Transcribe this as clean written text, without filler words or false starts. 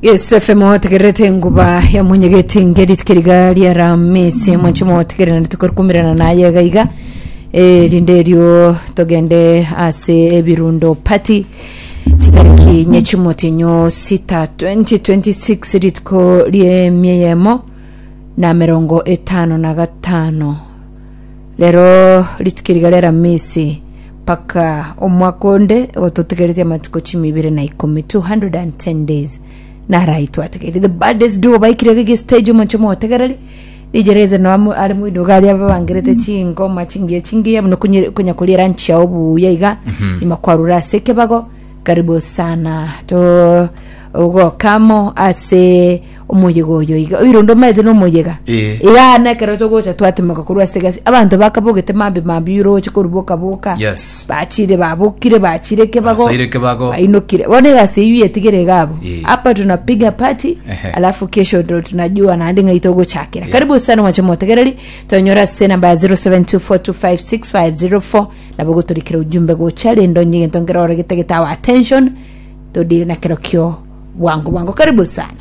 Yes, FM otegererete enguba ya mwenyegeti ngeri tikeriga ria Ramisi mwanche motegererana tukorikumirana naye iga iga Eh, rinde erio togende ase ebirundo party chitariki nyechumotinyo sita 2026 rituko ri'emieyemo na merongo etano na gatano rero rituko eriga ria Ramisi Mpaka omwaka onde ototigeretie amatuko chimi ibere na ikomi, 210 days narai twatigeire the baddest duo baikire gege stage omonche motegereri DJ Reza no amo- are moino iga aria babangerete chingoma chingiya chingiya buna konye- konya koria lunch yao buya iga nyuma kwarure ase ekebago karibu sana to ogokamo ase omoyega oyo iga oirondo omanyete na omoyega Eh. iga na ekero togocha twatimoka korwa ase egasi abanto bakabogete mambi mambi oroche korwa boka boka Yes. bachire babokire bachire kebago Basoire kebago. bainokire bono egasi eyio yetigere iga abwo Eh. hapa tunapiga party Ehe. alafu kesho ndo tunajua naende ng'ai togochakera karibu sana mwache motegereri tonyora ase namba ya 0724256504 nabo gotorikera ujumbe gocha rende onye egento nkerore getagete our attention todire na kerokio bwango bwango karibu sana.